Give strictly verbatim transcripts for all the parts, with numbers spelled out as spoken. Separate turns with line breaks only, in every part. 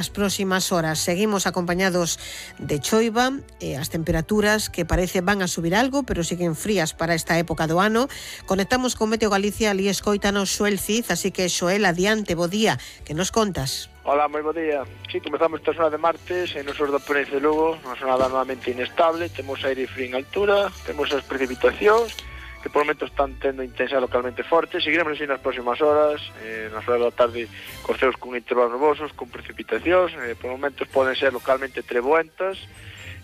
As próximas horas seguimos acompañados de choiva e as temperaturas que parece van a subir algo, pero siguen frías para esta época do ano. Conectamos con Meteo Galicia, ali escoítanos Xoel Cid, así que Xoel, adiante, bo día, que nos contas?
Hola, moi bo día. Sí, comezamos esta zona de martes e nos da Ponente de Lugo, unha zona normalmente inestable, temos aire frío en altura, temos as precipitacións, que por momentos están tendo intensidade localmente forte. Seguiremos así nas próximas horas, eh, nas horas da tarde corceos con intervalos nubosos, con precipitacións, eh, por momentos poden ser localmente treboentas,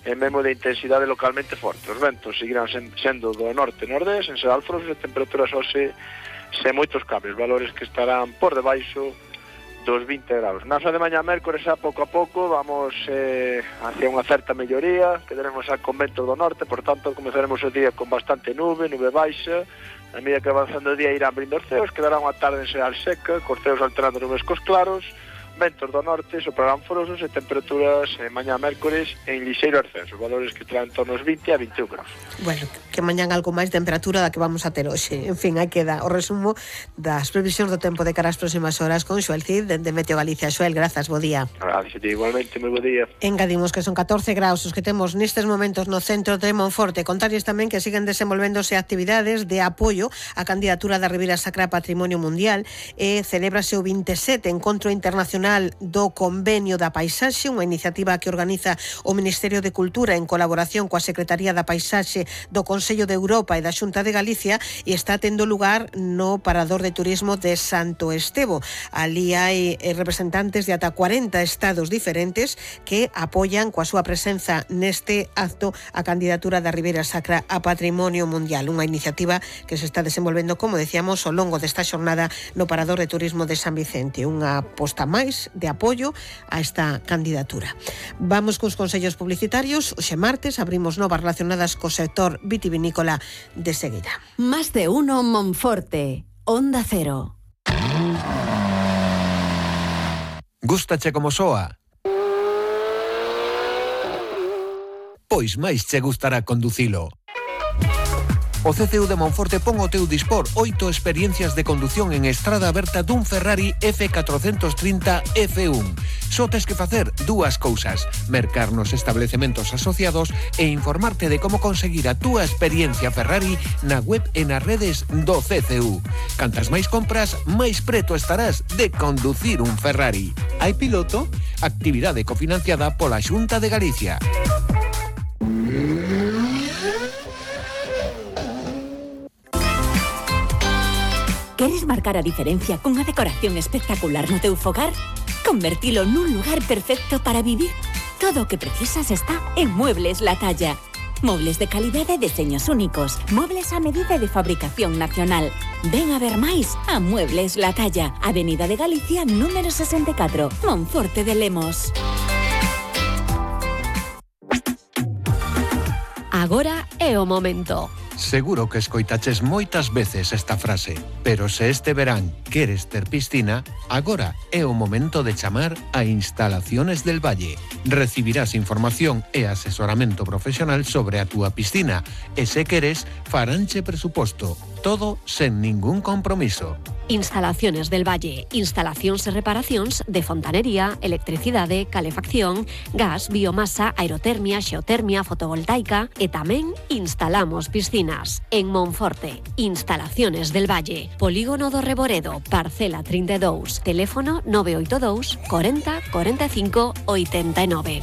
e mesmo de intensidade localmente forte. Os ventos seguirán sen, sendo do norte e nordés, en ser alforos, e temperaturas hoxe sen moitos cambios, valores que estarán por debaixo dos vinte graus. Na zona de mañá mércores, a pouco a pouco, vamos eh, hacia unha certa melloría, quedaremos a conventos do norte, por tanto, comezaremos o día con bastante nube, nube baixa, a medida que avanzando o día irán abrindo os ceos, quedará unha tarde en xeral seca, cos ceos alternando nubes cos claros, ventos do norte, soprarán forosos e temperaturas eh, mañá mércores en lixeiro ascenso, valores que estarán en torno aos vinte a vinte e un graus.
Bueno, que mañán algo máis temperatura da que vamos a ter hoxe. En fin, aí queda o resumo das previsións do tempo de cara ás próximas horas con Xoel Cid, de Meteo Galicia. Xoel, grazas, bo día.
Gracias, igualmente, moi bo día.
Engadimos que son catorce graus os que temos nestes momentos no centro de Monforte. Contarles tamén que siguen desenvolvéndose actividades de apoio á candidatura da Ribeira Sacra a Patrimonio Mundial e celébrase o vinte e sete Encontro Internacional do Convenio da Paisaxe, unha iniciativa que organiza o Ministerio de Cultura en colaboración coa Secretaría da Paisaxe do Consello de Europa e da Xunta de Galicia, e está tendo lugar no Parador de Turismo de Santo Estevo. Ali hai representantes de ata cuarenta estados diferentes que apoian coa súa presenza neste acto a candidatura da Ribeira Sacra a Patrimonio Mundial, unha iniciativa que se está desenvolvendo, como decíamos, ao longo desta xornada no Parador de Turismo de San Vicente, unha posta máis de apoio a esta candidatura. Vamos cos consellos publicitarios. Hoxe martes abrimos novas relacionadas co sector vitivinícola de seguida.
Más de uno Monforte, Onda Cero.
Gústache como soa? Pois máis che gustará conducilo. O C C U de Monforte pon ao teu dispor oito experiencias de condución en estrada aberta dun Ferrari F cuatrocentos trinta F uno. Só tes que facer dúas cousas: mercar nos establecementos asociados e informarte de como conseguir a túa experiencia Ferrari na web e nas redes do C C U. Cantas máis compras, máis preto estarás de conducir un Ferrari. Hai piloto? Actividade cofinanciada pola Xunta de Galicia.
Queres marcar a diferencia cunha decoración espectacular no teu fogar? Convertilo nun lugar perfecto para vivir? Todo o que precisas está en Muebles La Talla. Mobles de calidade e deseños únicos. Mobles a medida de fabricación nacional. Ven a ver máis a Muebles La Talla. Avenida de Galicia, número sesenta e catro, Monforte de Lemos. Agora é o momento.
Seguro que escoitaches moitas veces esta frase, pero se este verán queres ter piscina, agora é o momento de chamar a Instalaciones del Valle. Recibirás información e asesoramento profesional sobre a túa piscina e se queres, faranche presuposto, todo sen ningún compromiso.
Instalaciones del Valle, instalacións e reparacións de fontanería, electricidade, calefacción, gas, biomasa, aerotermia, xeotermia, fotovoltaica e tamén instalamos piscinas. En Monforte, Instalaciones del Valle, Polígono do Reboredo, parcela trinta e dous, teléfono nove oito dous, cuarenta, cuarenta e cinco, oitenta e nove.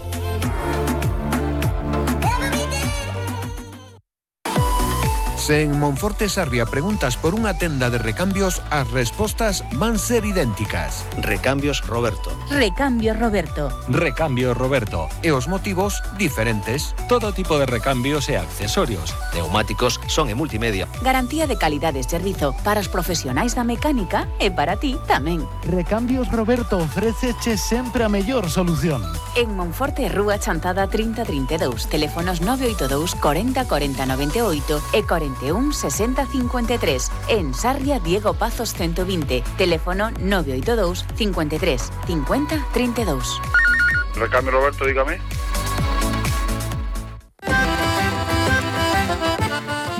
Se en Monforte Sarria preguntas por unha tenda de recambios, as respostas van ser idénticas.
Recambios Roberto.
Recambios Roberto.
Recambios Roberto.
E os motivos diferentes.
Todo tipo de recambios e accesorios. Neumáticos, son e multimedia.
Garantía de calidade e servizo para os profesionais da mecánica e para ti tamén.
Recambios Roberto ofréceche sempre a mellor solución.
En Monforte, Rúa Chantada trinta trinta e dous, teléfonos nove oito dous, cuarenta, cuarenta, noventa e oito e cuarenta e un, sesenta, cincuenta e tres. En Sarria, Diego Pazos ciento vinte, teléfono nove oito dous, cincuenta e tres, cincuenta, trinta e dous.
Recambio Roberto, dígame.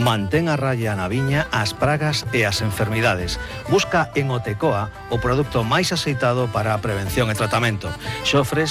Mantén a raya na viña as pragas e as enfermidades. Busca en Otecoa o produto máis aceitado para a prevención e tratamento. Xofres